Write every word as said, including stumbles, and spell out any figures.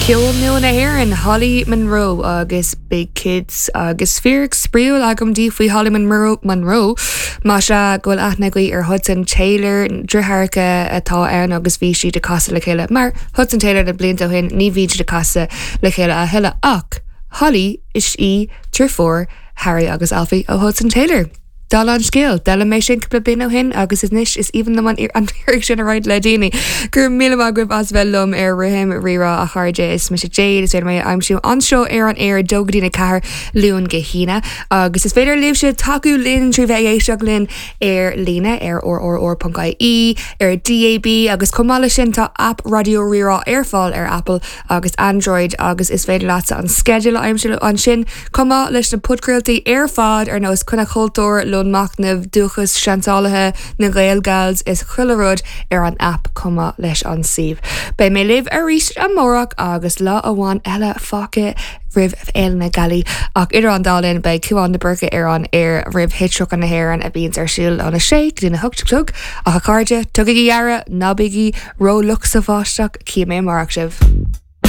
Ceol nua na hÉireann Holly Monroe agus Big Kids agus fíric spraíúil agam daoibh faoi Holly Monroe Monroe Más ea go bhfuil aithne agaibh ar Hudson Taylor deartháireacha atá ann agus bhí siad ag casadh le chéile mar Hudson Taylor na blianta ó shin ní bhíonn siad ag casadh le chéile a thuilleadh ach Holly is í deirfiúr Harry agus Alfie ó Hudson Taylor. Dála an scéil, D'fhoghlaim mé sin cúpla bliain ó shin agus anois is aoibhinn liom an fhíric sin a roinnt le daoine. Gur míle maith as bheith liom ar Rithim Rírá a chairde is mise Jade is féidir mé a aimsiú anseo ar an aer dó go dtí a ceathair Luan go hAoine agus is féidir libhse tacú linn trí bheith ag éisteacht linn ar líne ar rrr.ie ar DAB agus chomh maith leis sin tá app Raidió Rí-Rá ar fáil ar Apple agus Android agus is féidir leat an sceideal a aimsiú ansin chomh maith leis na podchraoltaí ar fad ar nós Coinne Cultúr le Machnamh dúchas seansálaithe na Gaelgals is chuile rud ar an app chomh maith leis an suíomh. Beidh mé libh arís amárach agus lá amháin eile fágtha roimh Fhéile na Gealaí ach idir an dá linn beidh Cúán de Burca ar an aer roimh Hit na hÉireann a bhíonns ar siúl óna sé go dtí a hocht a chlog ach a chairde tugaigí aire ná bígí rófhliuch sa bháisteach cífidh mé amárach sibh.